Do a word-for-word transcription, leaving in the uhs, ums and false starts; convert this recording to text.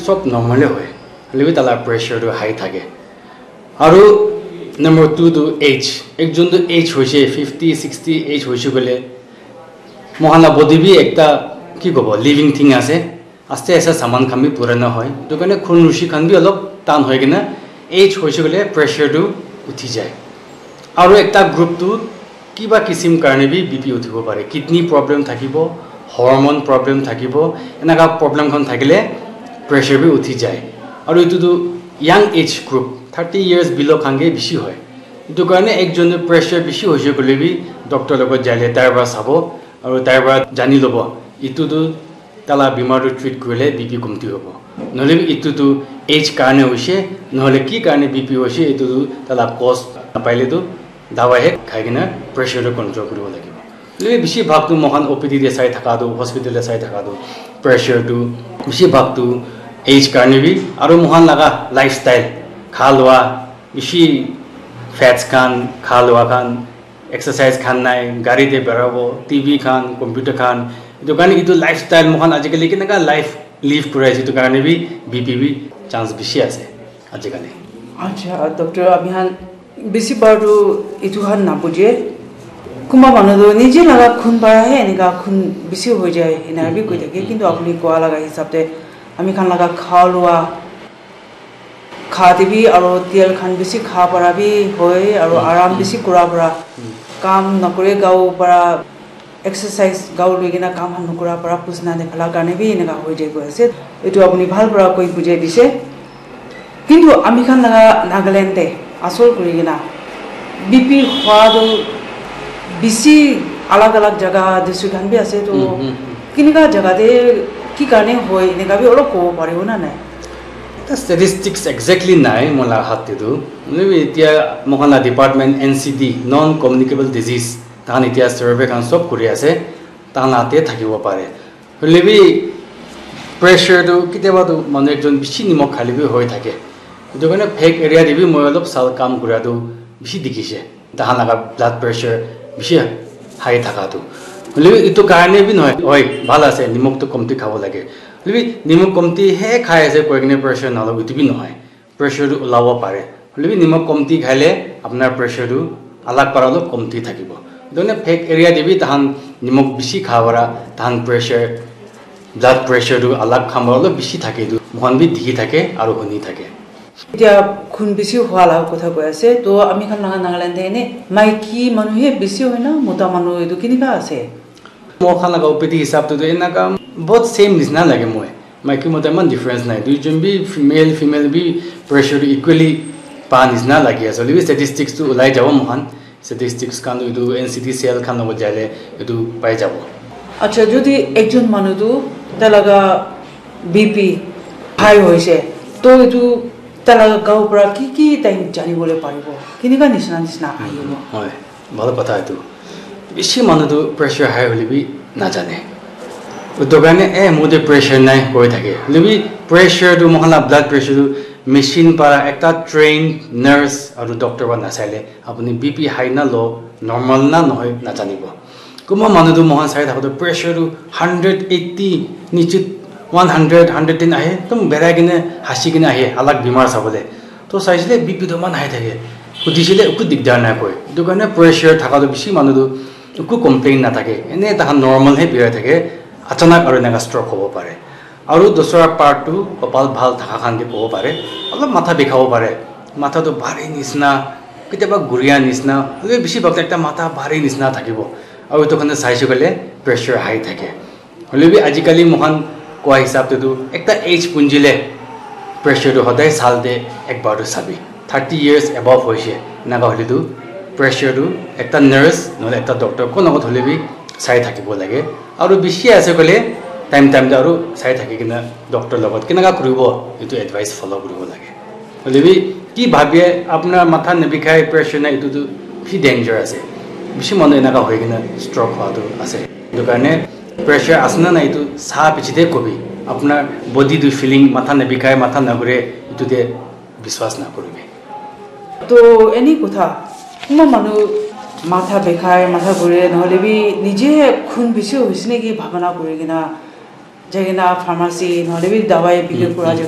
Sob normal hoy, hoilebi tala pressure tu high thake. Aru number two tu age. Ekjon tu age hoise, fifty, sixty age hoise koile, mohan la body bi ekta, ki kobo, living thing ase. Aste aste saman khan bi purana hoy, etu karne khun rushi khan bi olop tan hoi kena age hoise koile pressure tu uthi jai. Aru ekta group tu kiba kisim karne bi B P uthibo pare, kidney problem thakibo, hormone problem thakibo, enaka problem khan thakile pressure bi uthi jai. Aru etu tu young age group, thirty years below khan ke bishi hoy. Etu karne ekjon tu pressure bishi hoise koile bi doctor logot jaile tai para sabo, aru tai para jani lobo etu tu tala bimar tu treat kurile B P komti hobo. Nohole bi etu tu age karne hoise, nohole ki karne B P hoise, etu tu tala cause napaile tu dawai he khai kena pressure tu control kuribo lagibo. Hoile bi bishi bhag tu mohan O P D te sai thaka tu, hospital te sai thaka tu, pressure tu bishi bhag tu age karne bi, aru mohan laga lifestyle, kha lua, bishi fats khan, kha lua khan, exercise khan nai, gari te berabo, T V khan, computer khan, etu karne etu lifestyle mohan ajikali kenaka life live kuri ase, etu karne bi B P bi chance bishi ase ajikali. Acha, doctor, ami khan bisi bar tu etu khan nabuje. Kunba manu tu nije laga khun para he enika khun bisi hoi jai, ena bi koi thake. Kintu apuni koa laga hisab te ami khan laga kha lua, kha te bi aro tel khan bisi kha para bi hoi, aro aram bisi kura para, kam nakore gao para, exercise gao loi kena kam khan nakura para, pusna nikhala karne bi enika hoi jai koi ase. Etu apuni bhal para koi bujai dise. Kintu ami khan laga Nagaland te asol kuri kena B P hua tu bisi alag alag jaga district khan bi ase to, kinika jaga te ki karne hoi enika bi olop kobo paribo na nai? Eta statistics exactly nai mola hat te tu. Hoilebi etia moikhan la department N C D, non communicable disease, tahan etia survey khan sob kuri ase, tahan la te thakibo pare. Hoilebi pressure tu ketiaba tu manu ekjon bishi nimok khale bi hoi thake. Etu karne phek area te bi moi olop sal kam kura tu bishi dikhi se. Tahan laga blood pressure bishi high thaka tu. Hoilebi etu karne bi nohoi, hoi, bhal ase, nimok tu komti khabo lage. Hoilebi nimok komti he khai ase koi kene pressure nalo, etu bi nohoi. Pressure tu ulabo pare. Hoilebi nimok komti khaile apnar pressure tu alag para olop komti thakibo. Etu karne phek area te bi tahan nimok bishi kha para tahan pressure, blood pressure tu alag khan para olop bishi thake, etu moikhan bi dikhi thake aro huni thake. Etia khun bisi hua laga kotha koi ase, to ami khan laga Nagaland te ene maiki manu he bisi hoi na mota manu etu kenika ase? Moikhan laga O P D hisab te tu enaka bahut same nisna lage moi. Maiki mota eman difference nai. Duijon bi male female bi pressure tu equally pa nisna lagi ase. Hoilebi statistics tu ulai jabo moikhan. Statistics khan tu etu N C D cell khan logot jaile etu pai jabo. Acha, jodi ekjon manu tu tai laga B P high hoise, to etu tai laga gao para ki ki tai jani bole paribo? Kinika nisna nisna ahibo? Hoi, bhal kotha etu. Bishi manu tu pressure high hoilebi najane. Etu karne, "Eh, mo te pressure nai," koi thake. Hoilebi pressure tu, moikhan la blood pressure tu machine para ekta trained nurse aru doctor para nasaile apuni B P high na low, normal na nohoi, najanibo. Kunba manu tu moikhan sai thaka tu pressure tu hundred eighty, niche one hundred, hundred ten ahe, ekdum berai kene, hasi kene ahe, alag bimar sabole. To saisile B P tu eman high thake, hudisile eku digdar nai koi. Etu karne pressure thaka tu bishi manu tu eku complain nathake, ene tahan normal he birai thake, achanak aru enaka stroke hobo pare. Aru dusra part tu kopal bhal thaka khan ke kobo pare, olop matha bikhabo pare, matha tu bhari nisna, ketiaba guria nisna, hoilebi bishi bhag ekta matha bhari nisna thakibo, aru etu khan tu saise koile pressure high thake. Hoilebi ajikali moikhan koa hisab te tu ekta age punjile pressure tu hodai sal te ekbar tu sabi, thirty years above hoise, enaka hoile tu pressure tu ekta nurse nohole ekta doctor kono kono hoilebi sai thakibo lage. Aru bishi ase koile time time te aru sai thaki kena doctor logot kenaka kuribo etu advice follow kuribo lage. Hoilebi ki bhabie apnar matha nabikhai, pressure nai, etu tu bishi danger ase. Bishi manu enaka hoi kena stroke hua tu ase. Etu karne pressure ase na nai etu sa piche te kobi. Apnar body tu feeling, matha nabikhai, matha nagure, etu te biswas nakuribi. To eni kotha, kunba manu matha bikhai, matha ghure, nohole bi nije khun bishi hoise naki bhabana kuri kena jai kena pharmacy nohole bi dawai bikri kura jaga